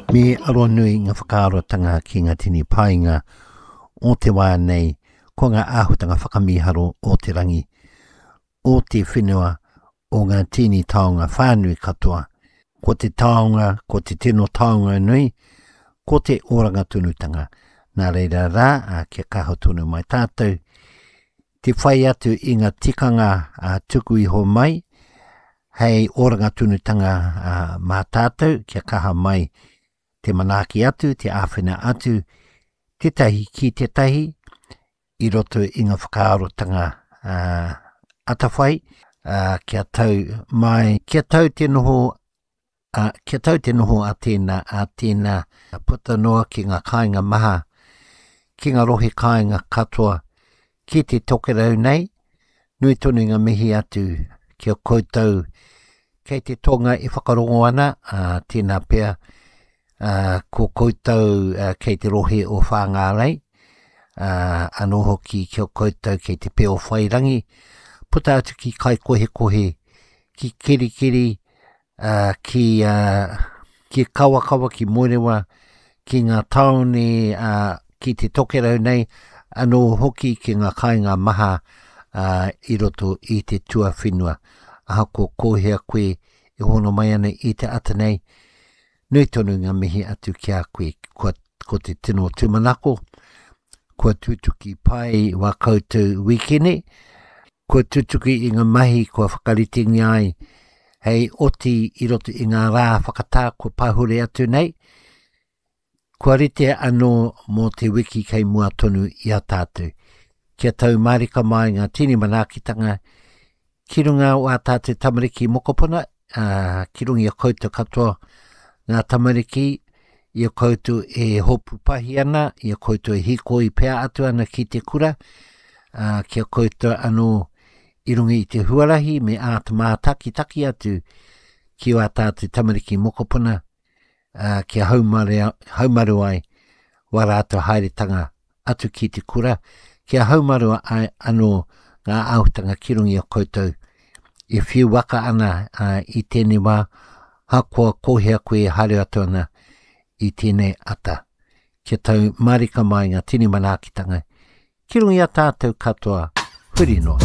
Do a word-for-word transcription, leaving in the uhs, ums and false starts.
Me aronui ngā whakaarotanga ki ngā tini painga o te wā nei, ko ngā āhutanga whakamīharo o te rangi, o te whenua, o ngā tini taonga whānui katoa. Ko te taonga, ko te tino taonga nui, ko te oranga tonutanga. Nā reira rā, a, kia kaha tonu mai tātou, te whai atu i ngā tikanga a, tuku iho mai, hei oranga tonutanga a, mā tātou, kia kaha mai te manaaki atu, te āwhina atu, tētahi ki tētahi, i roto i ngā whakaarotanga uh, atawhai, uh, kia tau mai, kia tau te noho, uh, kia tau te noho a tēnā, a tēnā, puta noa ki ngā kāinga maha, ki ngā rohe kāinga katoa, ki te tokerau nei, nui tonu ngā mihi atu ki a koutou kei te tonga e whakarongo ana, uh, tēnā pea, uh, ko koutou uh, kei te rohe o Whāngārei, uh, anō hoki ki a koutou kei te peo whairangi, puta atu ki Kaikohekohe, ki Kerikeri, uh, ki, uh, ki Kawakawa, ki Moerewa, ki ngā tāone, uh, ki te tokerau nei, anō hoki ki ngā kāinga maha uh, i roto i te tuawhenua. Ahakoa ko hea koe e hono mai ana i te ata nei, nui tonu ngā mihi atu ki a koe, kua, ko te tino tūmanako, kua tutuki pai wā koutou wikene, kua tutuki i ngā mahi kua whakaritengia ai hei oti i roto i ngā rā whakatā kua pahure atu nei, kua rite anō mō te wiki kei mua tonu i a tātou. Kia tau mārika mai ngā tini manaakitanga ki runga o ā tātou tamariki mokopuna, uh, ki runga i a koutou katoa ngā tamariki, i a koutou e hopu pahi ana, i a koutou e hīkoi pea atu ana ki te kura, uh, ki a koutou anō i runga i te huarahi me āta mātakitaki atu ki wā tātou tamariki mokopuna, uh, kia haumare, haumaru ai wā rātou haeretanga atu ki te kura, kia haumaru ai anō ngā āhutanga ki runga i a koutou e whiu waka ana uh, i tēnei wā, hakoa ko hea koe e haere atu ana i tēnei ata. Kia tau marika mai ngā tini manaakitanga ki runga i a tātou katoa, huri noa.